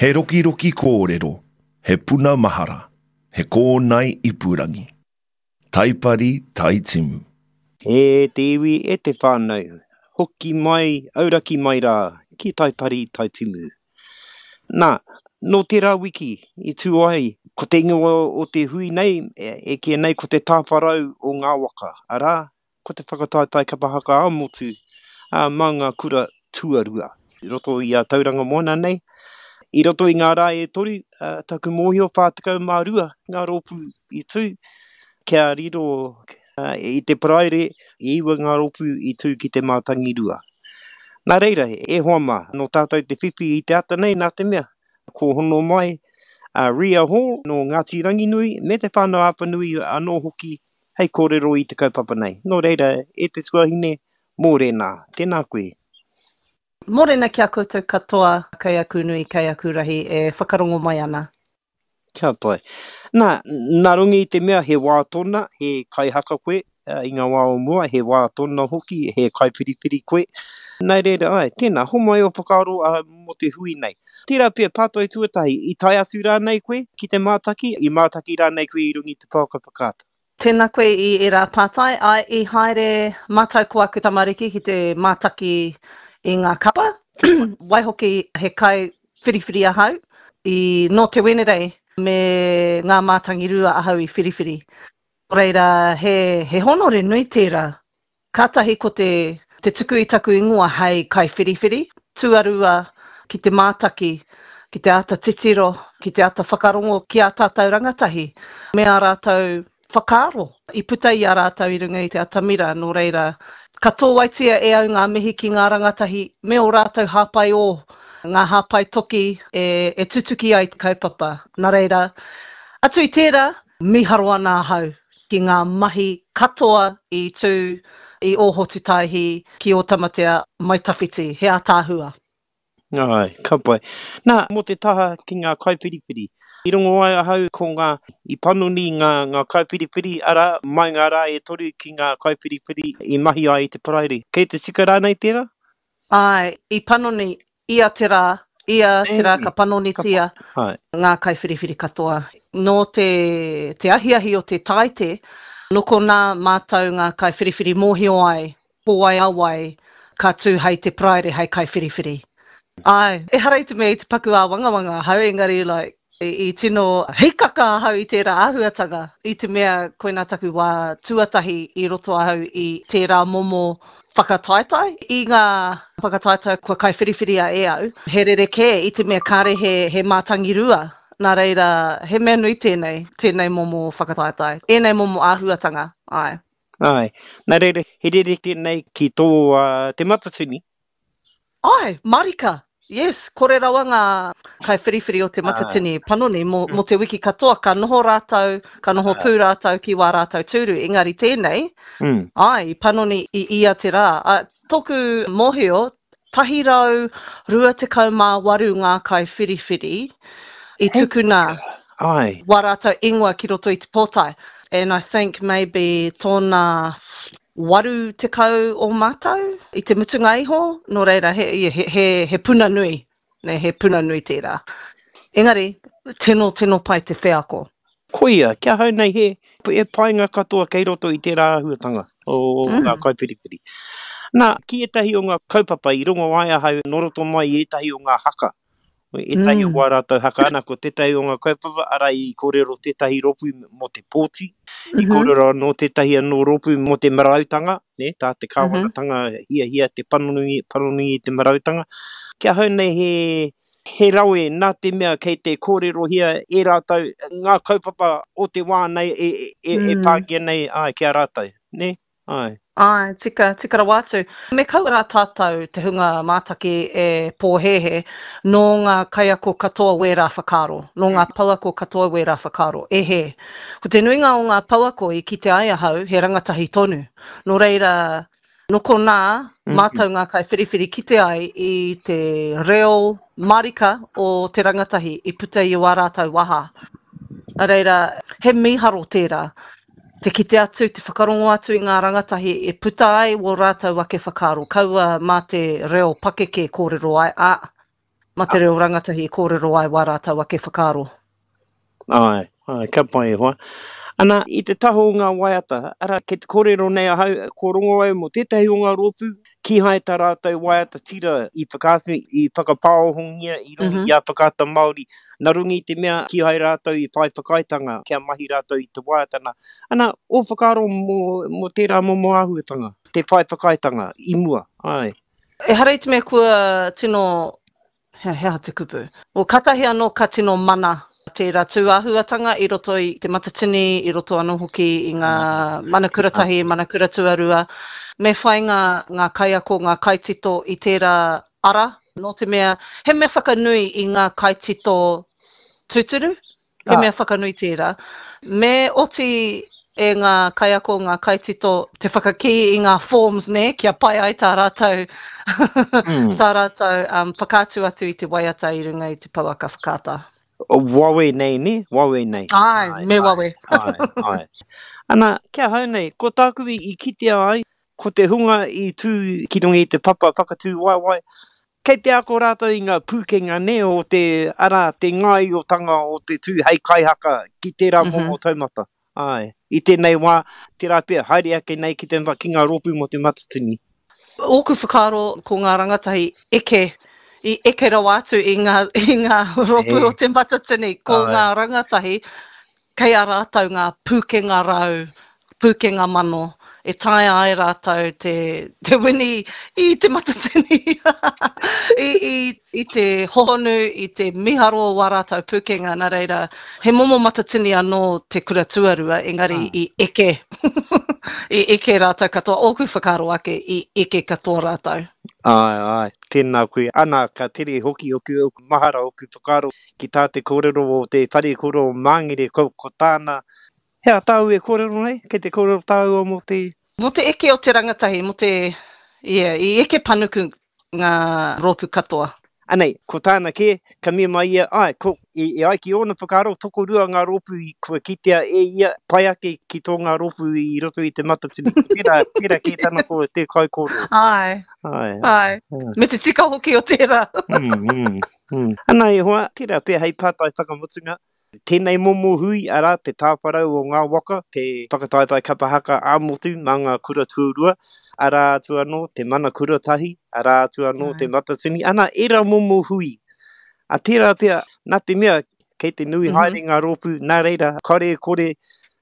He rokiroki kōrero, he puna mahara, he kōnae ipurangi. Taipari Taitimu. E te iwi, e te whānau, hoki mai, auraki mai rā ki Taipari Taitimu. Nā, nō tērā wiki i tū ai, ko te ingoa o te hui nei, e kīia nei ko te tāwharau o ngā waka, arā, ko te whakataetae kapa haka ā-motu mā ngā kura tuarua. I roto i a Tauranga Moana nei, i roto i ngā rā e toru, taku mōhio 42 ngā rōpū i tū, kia riro i te Paraire, e iwa ngā rōpū i tū ki te Mātangirua. Nā reira, e hoa mā, nō tātou te whiwhi i te ata nei nā te mea, ko hono mai a Ria Hall nō Ngāti Ranginui me Te Whānau-a-Apanui anō hoki hei kōrero i te kaupapa nei. Nō reira, e te tuahine, mōrena, tēnā koe. Mōrena ki a koutou katoa, kei aku nui, kei aku rahi e whakarongo mai ana. Kia pai. Nā, nā runga i te mea he wā tōna, he kaihaka koe i ngā wā o mua, he wā tōna hoki, he kaiwhiriwhiri koe. Nā reira, āe, tēnā, homai ō whakaaro mō te hui nei. Tērā pea, pātai tuatahi, i tae atu rānei koe ki te mātaki, i mātaki rānei koe i runga i te pouaka whakaata? Tēnā koe i ērā pātai. Āe, i haere mātou ko aku tamariki ki te mātaki i ngā kapa. Waihoki he kai whiriwhiri ahau. I, nō te Wenerei me ngā mātangirua ahau i whiriwhiri. Nō reira, he, he hōnore nui tērā. Kātahi ko te te tuku i taku ingoa hei kaiwhiriwhiri, tuarua ki te mātaki, ki te āta titiro, ki te āta whakarongo ki ā tātou rangatahi me ā rātou whakaaro i puta i a rātou i runga i te atamira, nō reira, ka tōwaitia e au ngā mihi ki ngā rangatahi me ō rātou hāpai ō, ngā hāpai toki e tutuki ai te kaupapa. Nā reira, atu i tērā, Mīharo ana ahau ki ngā mahi katoa i tū i Ōhotutaihi ki Ōtamatea mai tawhiti, he ātaahua. Āe, ka pai. Nā, mō te taha ki ngā kaiwhiriwhiri, i rongo ai ahau ko ngā, i panoni ngā, ngā kaiwhiriwhiri, arā, mai ngā rā e toru ki ngā kaiwhiriwhiri i mahi ai i te Paraire. Kei te tika rānei tērā? Āe, i panoni ia te rā, ia te rā ka panonitia ngā kaiwhiriwhiri katoa. Nō te, te ahiahi o te Tāite, nō konā mātou ngā kaiwhiriwhiri mōhio ai ko wai a wai ka tū hei te Paraire hei kaiwhiriwhiri. Āe, ehara i te mea i te paku āwangawanga ahau, engari like, I tino hikaka ahau i tērā āhuatanga, i te mea koinā taku wā tuatahi i roto ahau i tērā momo whakataetae. I ngā whakataetae kua kaiwhiriwhiria e au, he rerekē i te mea kāre he, he mātangirua, nā reira, he mea nui tēnei, tēnei momo whakataetae, ēnei momo āhuatanga, āe. Āe. Nā reira, he rerekē nei ki tō Te Matatini, Ae, marika! Yes, kore rawa ngā kaiwhiriwhiri o Te Matatini panoni mō, mō te wiki katoa, ka noho rātou, ka noho pū rātou ki wā rātou tūru, engari tēnei, ae, i panoni i ia te rā. A, tōku mōhio, 128 ngā kaiwhiriwhiri i tukuna wā rātou ingoa ki roto i te pōtae. And I think maybe tōna 80 o mātou i te mutunga iho, nō reira he, he, he, he puna nui, nē, he puna nui tērā. Engari, tino, tino pai te wheako. Koia, ki ahau nei he, he painga katoa kei roto i tērā āhuatanga o mm. ngā kaiwhiriwhiri. Nā, ki ētahi o ngā kaupapa i rongo ai ahau nō roto mai i ētahi o ngā haka Ētahi o wā rātou haka ana, ko tētahi o ngā kaupapa, arā i kōrero tētahi rōpū mō te pōti, i kōrero anō tētahi anō rōpū mō te marautanga, nē, tā te kāwanatanga hiahia te panoni, panoni i te marautanga. Ki ahau nei he, he rawe nā te mea kei te kōrerohia e rātou ngā kaupapa o te wā nei e, e, e pāngia nei, āe, ki a rātou, nē? Āe. Āe, tika, tika rawa atu. Me kaua rā tātou te hunga mātaki e pōhēhē, nō ngā kaiako katoa wērā whakaaro, nō ngā pouako katoa wērā whakaaro. E hē. Ko te nuinga o ngā pouako i kite ai ahau, he rangatahi tonu. Nō reira, nō konā, mātou ngā kaiwhiriwhiri kite ai i te reo marika o te rangatahi i puta i ō rātou waha. Nā reira, he mīharo tērā. Te kite atu, te whakarongo atu i ngā rangatahi e puta ai wō rātou ake whakaaro, kaua mā te reo pakeke kōrero ai, ā, Mā te reo rangatahi e kōrero ai wā rātou ake whakaaro. Āe, āe, ka pai e hoa. Ana, i te taha o ngā waiata, arā, kei te kōrero nei ahau, kua rongo au mō tētahi o ngā rōpū, kīhai tā rātou waiata tira i whakaatu, i whakapāohongia i runga i a Whakaata Māori, nā runga i te mea kīhai rātou i whai whakaaetanga kia mahi rātou i te waiata nā. Ana, ō whakaaro mō, mō tērā momo āhuatanga, te whai whakaaetanga i mua, āe. Ehara i te mea kua tino He aha te kupu? Well, katahi anō ka tino mana tērā tūāhuatanga i roto i Te Matatini, i roto anō hoki i ngā mana kura tahi, mana kura tuarua. Me whai ngā, ngā kaiako, ngā kaitito i tērā ara, nō te mea, he mea whakanui i ngā kaitito tūturu, He mea whakanui tērā. Me oti e ngā kaiako, ngā kaitito te whakakī i ngā forms, nē, kia pai ai tā rātou, tā rātou um, whakaatu atu i te waiata i runga i te pouaka whakaata. Wawe nei, nē? Wawe nei. Āe, me wawe. Āe, āe. Ana, ki ahau nei, ko tāku i kitea ai, ko te hunga i tū ki runga i te papa whakatū waewae, Kei te ako rātou i ngā pūkenga nē o te, arā, te ngāiotanga o te tū hei kaihaka ki tērā momo taumata. Āe. I tēnei wā, tērā pea, haere ake nei ki te, ki ngā rōpū mō Te Matatini. Ōku whakaaro ko ngā rangatahi eke, i eke rawa atu i ngā, i ngā rōpū o Te Matatini, ko ngā rangatahi kei a rātou ngā pūkenga rau, pūkenga mano, e taea ai rātou te, te wini i te matatini, i, i, i te hohonu, i te miharo o wā rātou pūkenga. Nā reira, he momo matatini anō te kura tuarua, engari ah. i eke, i eke rātou katoa, ōku whakaaro ake, i eke katoa rātou. Āe, āe, tēnā koe. Ana, ka tere hoki oku, oku mahara, oku whakaaro Ki tā te kōrero o te whare koro o Māngere, ko, ko tāna, He aha tāu e kōrero nei? Kei te kōrero tāua mō te. Mō te eke o te rangatahi, mō te, yeah, i eke panuku ngā rōpū katoa. Anei, ko tāna kē, ka mea mai ia, āe, ko, e, e ai ki ōna whakaaro, tokorua ngā rōpū i, kua kitea e ia, pai ake ki tō ngā rōpū i roto i Te Matatini. Tērā, tērā kē tana kōrero, te kaikōrero. Āe, Āe. āe. Me te tika hoki o tērā. Mm, mm. Ana e hoa, tērā pea hei pātai whakamutunga, tēnei momo hui, arā, te tāwharau o ngā waka, te whakataetae kapa haka ā-motu mā ngā kura tuarua, arā atu anō te mana kura tahi, arā atu anō te matatini, ana, ērā momo hui. A tērā pea, nā te mea, kei te nui haere ngā rōpū, nā reira, kāore e kore,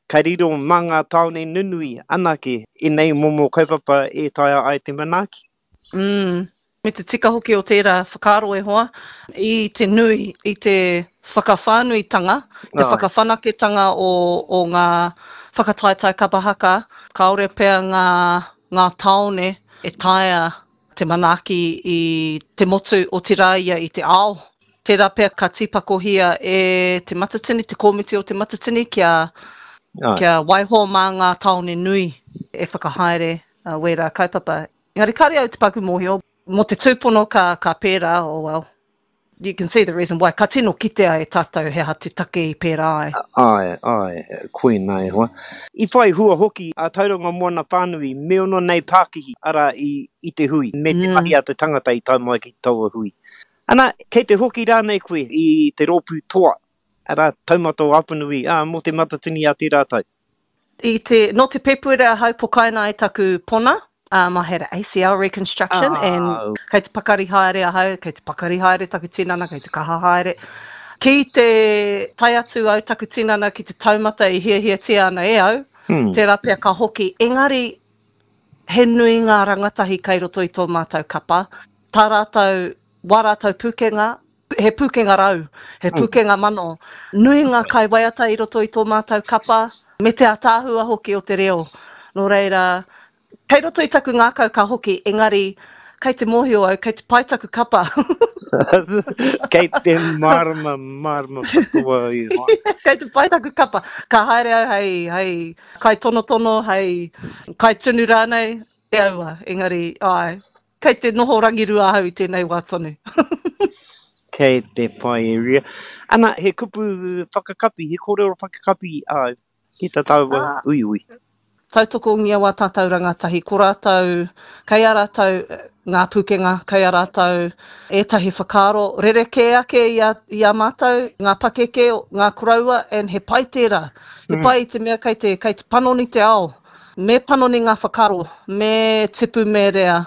ka riro mā ngā tāone nunui anake ēnei momo kaupapa e taea ai te manaaki. Mm. Me te tika hoki o tērā whakaaro e hoa, i te nui, i te whakawhānuitanga, te whakawhanaketanga o, o ngā whakataetae kapa haka, kāore pea ngā, ngā tāone e taea te manaaki i te motu, otirā ia i te ao. Tērā pea ka tīpakohia e Te Matatini, te kōmiti o Te Matatini kia, kia waiho mā ngā tāone nui e whakahaere wērā kaupapa. Engari kāre au te paku mōhio, mō te tūpono ka, ka pērā, oh well, you can see the reason why, ka tino kitea e tātou he aha te take i pērā ai. Āe, āe, koinā e hoa. I whai hua hoki a Tauranga Moana whānui me ono nei pākihi, arā, i, i te hui, me te mahi a te tangata i tae mai ki taua hui. Ana, kei te hoki rānei koe i te rōpū toa, arā, Taumata o Apanui, ā, mō Te Matatini a tērā tau? I te, nō te Pepuere ahau pokaina ai taku pona, um, I had a ACL reconstruction ah. and kei te pakari haere ahau, kei te pakari haere taku tinana, kei te kaha haere. Ki te tae atu au taku tinana ki te taumata i hiahiatia ana e au, hmm. tērā pea ka hoki. Engari, he nui ngā rangatahi kei roto i tō mātou kapa. Tā rātou, wā rātou pūkenga, he pūkenga rau, he pūkenga mano. Nui ngā kaiwaiata i roto i tō mātou kapa, me te ātaahua hoki o te reo. Nō reira, kei roto i taku ngākau ka hoki, engari, kei te mōhio au, kei te pai taku kapa. Kei te mārama, mārama katoa i hoa. Kei te pai taku kapa. Ka haere au hei, hei kaitonotono, hei kaitunu rānei, e aua, engari, āe, Kei te noho rangirua ahau i tēnei wā tonu. Kei te pai e Ria. Ana, he kupu whakakapi, he kōrero whakakapi āu ki tā tāua ah, uiui. Tautokongia wā tātou rangatahi, ko rātou, kei a rātou ngā pūkenga, kei a rātou ētahi whakaaro rerekē ake i a, i a mātou, ngā pakeke, ngā koroua, and he pai tērā. He mm. pai i te mea kei te, kei te panoni te ao. Me panoni ngā whakaaro, me tipu me rea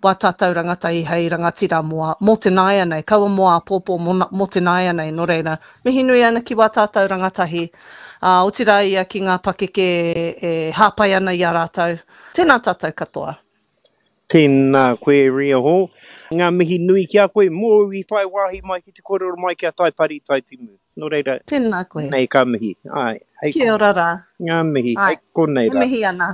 wā tātou rangatahi hei rangatira mō, mō te nāianei, kaua mō āpōpō, mō, mō te nāianei. Nō reira, mihi nui ana ki wā tātou rangatahi, ā, otirā ia ki ngā pakeke e hāpai ana i a rātou. Tēnā tātou katoa. Tēnā koe Ria Hall. Ngā mihi nui ki a koe mōu i whai wāhi mai ki te kōrero mai ki a Taipari Taitimu. Nō reira, Tēnā koe. Nei ka mihi. Āe, hei Kia ora rā. Ngā mihi, hei konei rā. E mihi ana.